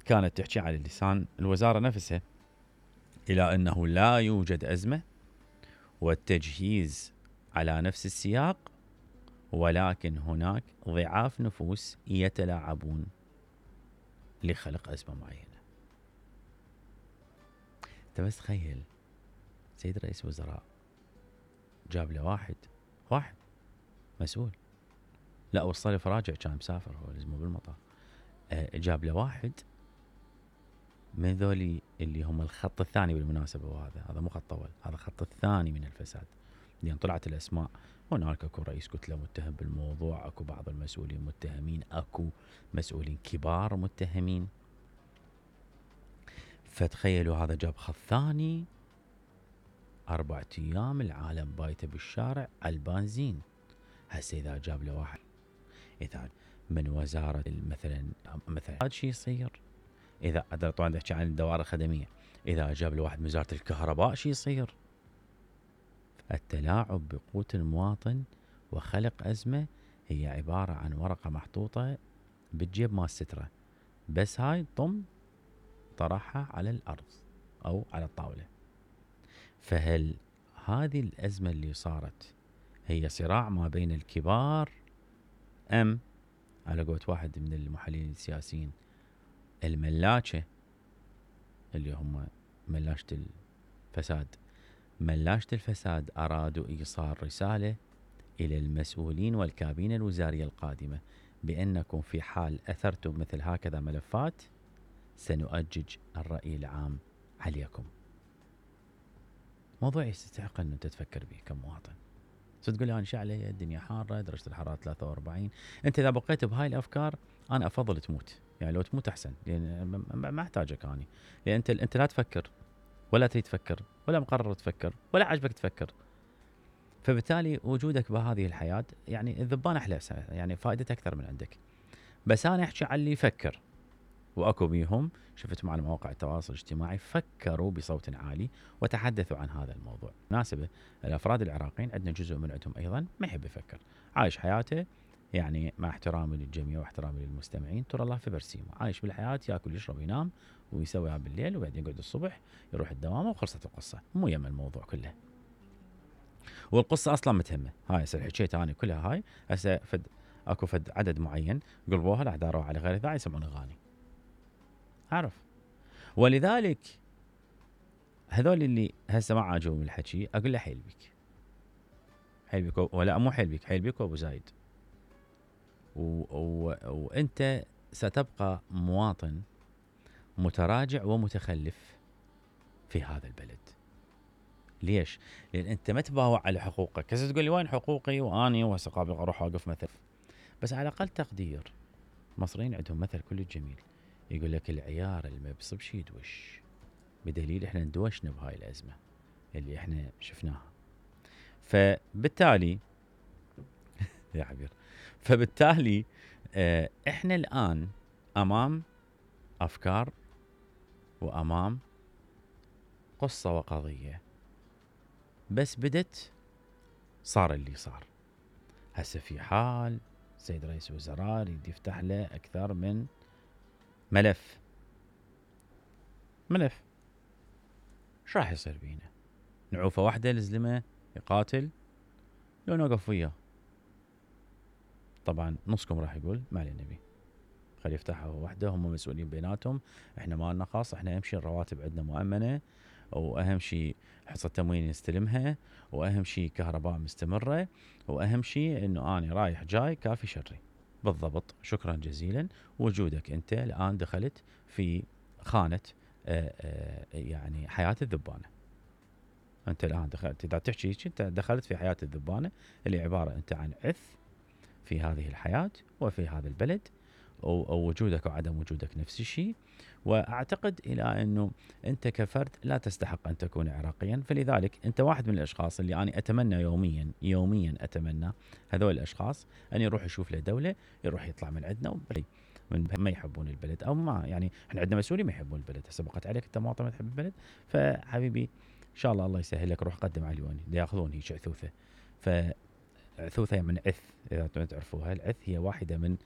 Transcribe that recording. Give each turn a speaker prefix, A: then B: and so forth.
A: كانت تحكي على لسان الوزارة نفسها إلى أنه لا يوجد أزمة والتجهيز على نفس السياق، ولكن هناك ضعاف نفوس يتلاعبون لخلق أزمة معينة. انت بس تخيل سيد رئيس وزراء جاب له واحد مسؤول، لا وصل فراجع كان مسافر هو لازمه بالمطار، جاب له واحد من ذولي اللي هم الخط الثاني بالمناسبة، وهذا مو خط أول، هذا الخط الثاني من الفساد، لأن طلعت الأسماء. هناك اكو رئيس كتلة متهم بالموضوع، اكو بعض المسؤولين متهمين، اكو مسؤولين كبار متهمين. فتخيلوا هذا جاب خط ثاني، 4 أيام العالم بايته بالشارع على البنزين. هسه إذا جاب له واحد إذا من وزارة مثلا هذا شيء يصير. إذا طبعا نحكي عن الدوائر الخدمية، إذا جاب له واحد من وزارة الكهرباء شيء يصير. التلاعب بقوت المواطن وخلق أزمة هي عبارة عن ورقة محطوطة بالجيب مال سترة، بس هاي طرحها على الأرض أو على الطاولة. فهل هذه الأزمة اللي صارت هي صراع ما بين الكبار، أم على قولة واحد من المحللين السياسيين الملاكة اللي هم ملاشة الفساد أرادوا إيصال رسالة إلى المسؤولين والكابينة الوزارية القادمة بأنكم في حال أثرتم مثل هكذا ملفات سنؤجج الرأي العام عليكم. موضوع يستحق أن تتفكر به كمواطن. تقول لي أنا شو علي، الدنيا حارة، درجة الحرارة 43. أنت إذا بقيت بهاي الأفكار أنا أفضل تموت، يعني لو تموت أحسن، لأن ما أحتاجك أنا، لأن أنت لا تفكر ولا تريد تفكر ولا مقرر تفكر ولا عجبك تفكر. فبالتالي وجودك بهذه الحياة يعني الذبان أحلى، يعني فائدته أكثر من عندك. بس أنا أحكي عن اللي يفكر، وأكو بيهم شفت مع مواقع التواصل الاجتماعي فكروا بصوت عالي وتحدثوا عن هذا الموضوع. مناسبة الأفراد العراقيين عندنا جزء من عندهم أيضا ما يحب يفكر، عايش حياته يعني مع احترامي للجميع واحترامي للمستمعين، ترى الله في برسيمه، عايش بالحياة، يأكل يشرب ينام ويسويها بالليل، وبعدين يقعد الصبح يروح الدوام وخلصت القصة، مو يم الموضوع كله. والقصة أصلا متهمة، هاي هسه حكيت أنا كلها، هاي هسه اكو عدد معين قلبوها لا داروها على غير ذا يسمعون أغاني، أعرف. ولذلك هذول اللي هسه ما عاجبهم الحكي أقول له حيل بك ولا مو حيل بك وأبو زايد، وأنت ستبقى مواطن متراجع ومتخلف في هذا البلد. ليش؟ لأن أنت ما تباوع على حقوقك. هسه تقول لي وين حقوقي وأني وهسه قابل أروح أوقف مثل، بس على الأقل تقدير. المصريين عندهم مثل كل جميل يقول لك العيار اللي ما بصبش يدوش، بدليل احنا ندوشنا بهاي الأزمة اللي احنا شفناها. فبالتالي يا عبير، فبالتالي احنا الآن أمام أفكار وأمام قصة وقضية، بس بدت صار اللي صار. هسه في حال سيد رئيس وزراء يريد يفتح له أكثر من ملف، شو راح يصير بينا؟ نعوفة واحدة لزلمة يقاتل لو نوقف وياه؟ طبعا نصكم راح يقول ما علينا بيه، خلي يفتحها وحده، هم مسؤولين بيناتهم، احنا ما لنا خاص، احنا اهم شيء الرواتب عندنا مؤمنة، واهم شيء حصة تموين نستلمها، واهم شيء كهرباء مستمرة، واهم شيء انه انا رايح جاي كافي شري. بالضبط، شكرا جزيلا. وجودك انت الان دخلت في خانة يعني حياة الذبانة. انت الان دخلت، اذا تحكي انت دخلت في حياة الذبانة اللي عبارة انت عن عث في هذه الحياة وفي هذا البلد، ووجودك وعدم وجودك نفس الشيء. واعتقد الى انه انت كفرد لا تستحق ان تكون عراقيا، فلذلك انت واحد من الاشخاص اللي انا اتمنى يوميا اتمنى هذول الاشخاص ان يروح يشوف له دولة، يروح يطلع من عندنا من ما يحبون البلد، او ما يعني احنا عندنا مسؤولين ما يحبون البلد. هسه بقت عليك انت مواطن ما تحب البلد، فحبيبي ان شاء الله يسهل لك، روح قدم على اليوني ياخذون هيك عثوثة. عثوثة من عث، إذا تعرفوها، العث هي واحدة من